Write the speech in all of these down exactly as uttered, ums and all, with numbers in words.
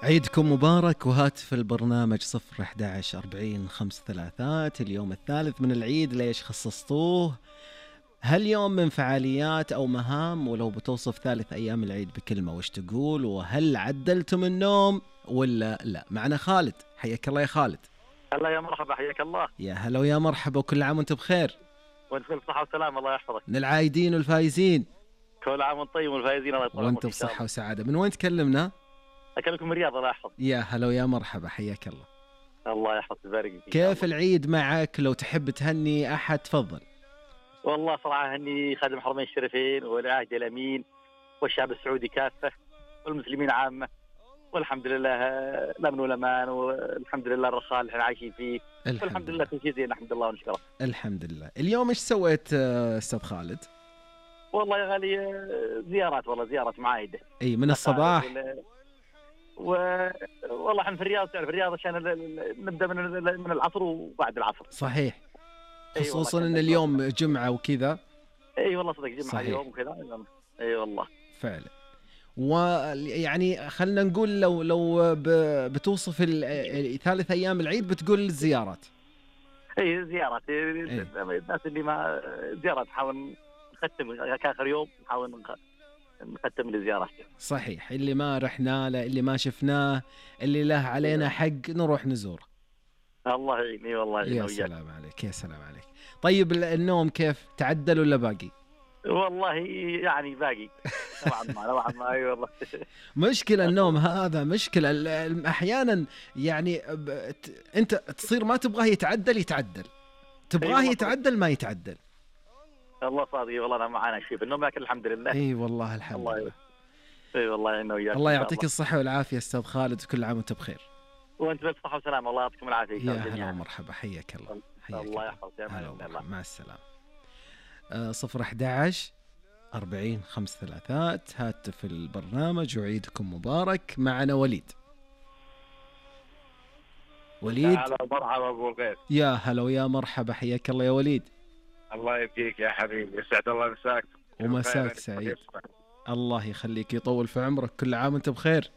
عيدكم مبارك. وهاتف البرنامج صفر أحد عشر أربعين خمس ثلاثات. اليوم الثالث من العيد، ليش خصصتوه؟ هل يوم من فعاليات أو مهام؟ ولو بتوصف ثالث أيام العيد بكلمة وش تقول؟ وهل عدلتم النوم ولا لا؟ معنا خالد، حياك الله يا خالد. هلا يا مرحبا، حياك الله. يا هلا ويا مرحبا، وكل عام وانت بخير. وانت بصحة وسلامة، الله يحفظك. من العايدين والفايزين. كل عام وانت طيب والفايزين الله يطول عمرك. وانت بصحة وسعادة. من وين تكلمنا؟ أكلمكم من الرياض، الله يحفظ. يا هلا ويا مرحبا، حياك الله. الله يحفظ ويبارك فيك. كيف العيد معك؟ لو تحب تهني أحد تفضل. والله صراحة هني خادم الحرمين الشريفين والعهد الأمين والشعب السعودي كافة والمسلمين عامة، والحمد لله الأمن والأمان، والحمد لله الرخاء اللي احنا عايشين فيه، والحمد لله كل شيء زين، نحمد الله ونشكره. الحمد لله. اليوم ايش سويت أستاذ خالد؟ والله يا غالي زيارات، والله زيارات معايدة. اي من الصباح. و... والله احنا في الرياض، في الرياض عشان نبدا من من العصر وبعد العصر. صحيح. خصوصا ان اليوم جمعه وكذا. اي والله صدق جمعه صحيح. اليوم وكذا. اي والله فعلا. ويعني خلنا نقول لو لو بتوصف ثالث ايام العيد بتقول الزيارات. اي زيارات. الناس اللي ما زيارات نحاول نختم كاخر يوم، نحاول نختم الزيارات. صحيح. اللي ما رحنا له، اللي ما شفناه، اللي له علينا حق نروح نزوره. الله يعيني والله يعيني. يا سلام عليك، يا سلام عليك. طيب النوم كيف؟ تعدل ولا باقي؟ والله يعني باقي نوعا ما نوعا ما. اي والله مشكلة النوم هذا مشكلة أحيانا. يعني أنت تصير ما تبغاه يتعدل يتعدل، تبغاه يتعدل ما يتعدل. الله صادق والله. أنا معانا شيء بالنوم لكن الحمد لله. اي والله الحمد لله. اي والله انه وياك. الله يعطيك الصحة والعافية استاذ خالد، وكل عام وانت بخير. وانت بالصحة والسلامة، الله يعطيكم العافية. يا هلا ومرحبا، حياك الله. حياك الله يحفظك. يا الله. مع السلامة. آه صفر أحد عشر أربعين خمس ثلاثات هاتف البرنامج. وعيدكم مبارك. معنا وليد. وليد. هلا مرحبا ابو الغيث. يا هلا ويا مرحبا، حياك الله يا وليد. الله يبقيك يا حبيبي، يسعد الله مساك. ومساك سعيد. الله يخليك، يطول في عمرك. كل عام وانت بخير.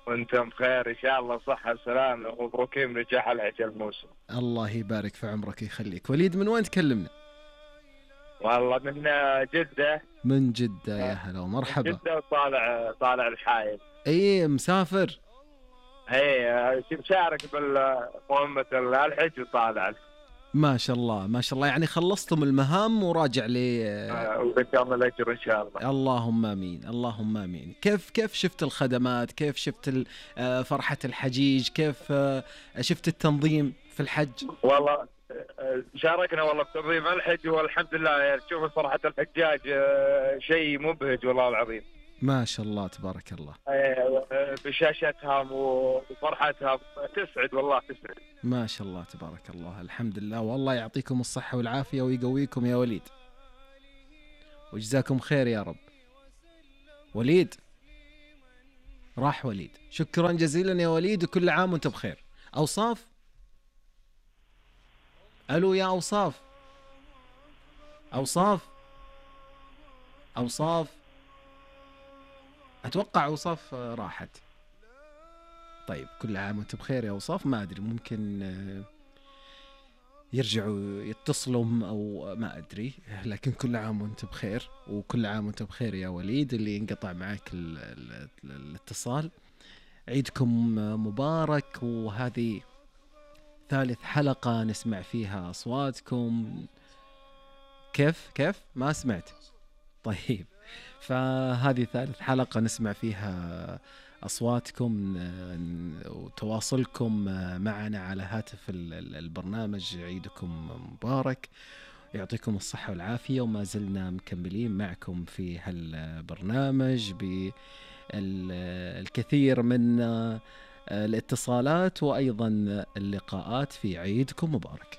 وانت بخير ان شاء الله، صحة وسلامة ومبروكين نجاح العجل الموسم. الله يبارك في عمرك ويخليك. وليد من وين تكلمنا؟ والله من جدة. من جدة. يا هلا ومرحبا. جدة وطالع طالع الحايل. اي مسافر. اي مشارك بالمهمة الحج وطالع. ما شاء الله ما شاء الله. يعني خلصتم المهام وراجع لي. وبكم الأجر إن شاء الله. اللهم آمين اللهم آمين. كيف كيف شفت الخدمات؟ كيف شفت فرحة الحجيج؟ كيف شفت التنظيم في الحج؟ والله شاركنا والله بتنظيم الحج، والحمد لله يعني تشوف فرحة الحجاج شيء مبهج والله العظيم. ما شاء الله تبارك الله. بشاشتهم وفرحتهم تسعد والله تسعد. ما شاء الله تبارك الله. الحمد لله. والله يعطيكم الصحة والعافية ويقويكم يا وليد، وجزاكم خير يا رب. وليد راح. وليد شكرا جزيلا يا وليد، وكل عام وانت بخير. أوصاف. ألو يا أوصاف. أوصاف أوصاف أتوقع أوصاف راحت. طيب كل عام وانت بخير يا أوصاف. ما أدري، ممكن يرجعوا يتصلوا أو ما أدري، لكن كل عام وانت بخير. وكل عام وانت بخير يا وليد اللي انقطع معك الاتصال. عيدكم مبارك. وهذه ثالث حلقة نسمع فيها أصواتكم. كيف كيف ما سمعت؟ طيب، فهذه ثالث حلقة نسمع فيها أصواتكم وتواصلكم معنا على هاتف البرنامج. عيدكم مبارك، يعطيكم الصحة والعافية. وما زلنا مكملين معكم في هالبرنامج بالكثير من الاتصالات وأيضا اللقاءات في عيدكم مبارك.